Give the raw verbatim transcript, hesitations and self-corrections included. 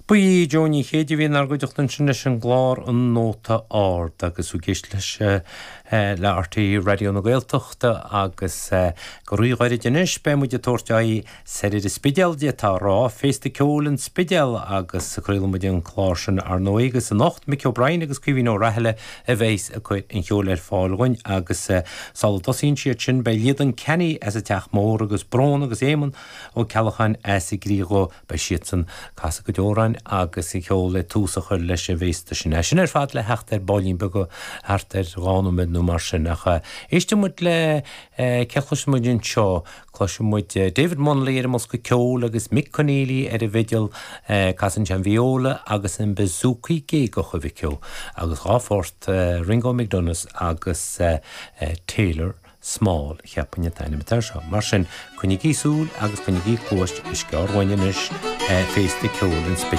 Ba í Jó Ní Chéide a bhí inár gcuideachta ansin leis an gclár An Nóta Ard agus ag éisteacht leis le R T É Raidió na Gaeltachta agus go ríghairid anois beidh muid ag tabhairt aghaidh soir ar an Spidéal d'fhéadfá a rá, Féasta Ceoil an Spidéil agus craolfaidh muid an clár sin ar ndóigh agus anocht Mick O'Brien agus Caoimhín Ó Raghallaigh a bheas ag cur an cheoil ar fáil dhúinn agus sula dtosaíonn siad sin beidh Líadan Kenny as an Teach Mór agus Brón agus Éamonn Ó Ceallacháin as an gCriadh beidh siadsan ag casadh go deoráin agus an ceol le tús a chur leis an bhféasta sin. É sin ar fad le theacht ar baillín beag thart ar dhá nóiméad nó mar sin ach éistfidh muid le cé chloisfidh muid anseo cloisfidh muid David Munnelly ar an mbosca ceoil agus Mick Conneely ar an bhfidil casann sé an viola agus an bouzouki géagach a Mhic Ó agus dhá phort Ringo McDonough's agus Taylor Small cheapfainn an t-ainm atá seo. Mar sin coinnigí súil agus coinnigí cluas is gearr anois féasta ceoil an Spidéil.